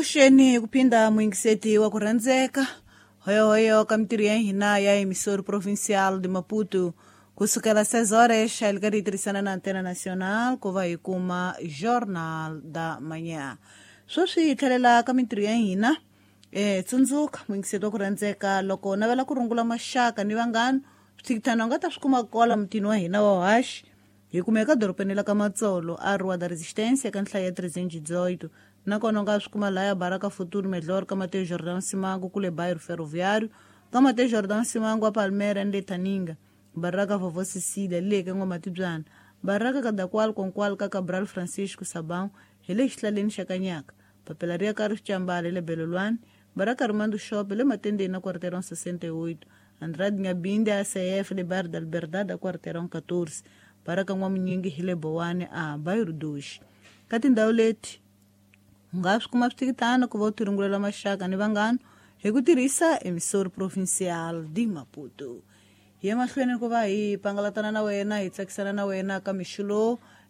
Avuxeni ku phinda muyingiseti wa ku rhandzeka hoyohoyo ka mintirho ya hina ya emissora provincial de Maputo kusukela 6 horas xa li karhi yi tirhisana na Antena Nacional ku va hi kuma Jornal da Manhã. Sweswi hi tlhelela ka mintirho ya hina. Tsundzuka muyingiseti wa ku rhandzeka loko u navela ku rungula maxaka ni vanghana swithikithana u nga ta swi kuma kwala mutini wa hina wa haxi. Hi kumeka dorobeni la ka Matsolo a Rua da Resistência ka nhlayo ya 318. Nakona u nga swi kuma laya Baraka Futuro Melhor ka Mateus Jordão Simango kule Bairro Ferroviário ka Mateus Jordão Simango a Palmeiras ni le Thaninga. Baraka Vovó Cecília le ka N'wamatibyana. Baraka Kadakwal Konkwal ka Cabral Francisco Sabão hi le xihlaleni xa Kanyaka. Papila ri ya ka Rixambala hi le Belolwane. Baraka Rimando Shop hi le Matendeni na Quarteirão 68. Andrade Ngabinde ACF le Bairro da Liberdade a Quarteirão 14. Baraka N'wamunyingi hi le Bowane a Bairro 2. Ka tindhawu leti u nga swi kuma swithikithana ku va u tirungulela maxaka ni vanghana hi ku tirhisa emissora provincial de Maputo. Hi ya mahlweni ku va hi pangalatana na wena hi tsakisana na wena ka mixo lowu.